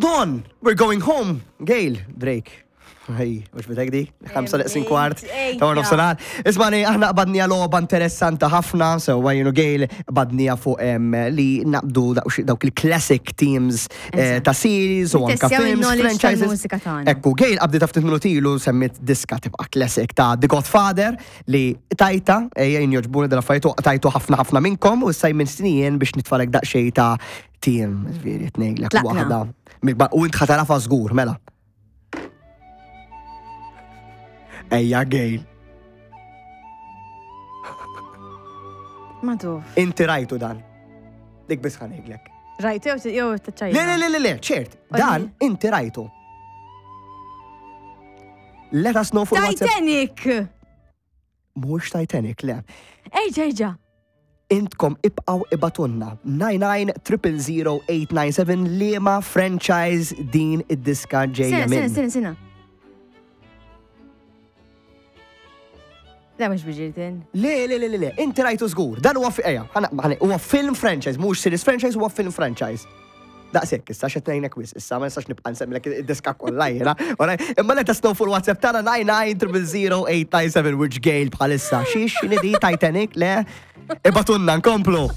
Hold on, we're going home. Gail, Drake. Ej, mux bitek di? Ħamsa leqsin kwart. Ta' warnof sanar. Ismani, aħna qbadnija logħba interessanta ħafna, so jenu Gail qbadnija fuq li naqbdu dawk il-classic teams eh, ta' series u anka films, franchises. Ekku, Gail qabdi ta' ftit minuti ilu semmit diska tibqa' classic ta' The Godfather li tajta, eh, jien joġbuni dal-affarijiet tajtu ħafna ħafna minnkom u issa jminn snijien biex nitfalek daqsxejn ta' team, ġifieri tnejlek waħda. U int ħatarafa żgur, mela. Ejja Gail. Ma tuf. Inti rajtu dan. Dik biss ħanejlek. Rajtu jew jew taċċajja. Le, le, le, le, ċert. Dan inti rajtu. Let us know fuq Titanic! Mhux Titanic, le. Ejġa, ejġa. Intkom ibqaw ibatunna 99000897 liema franchise din id-diska ġejja minn. Sena, sena, sena. Le, mhux biġirtin. Le, le, le, le, le, inti rajtu żgur. Dan huwa ejja, huwa film franchise, mhux series franchise, huwa film franchise. Daqshekk issa x'qed ngħinek wisq issa ma nistax nibqa' nsemmilek id-diska kollha jiena. Imma let us know fuq il-WhatsApp tagħna 99000897 which Gail bħalissa. Xiex x'inhi di Titanic le? Ibatunna nkomplu.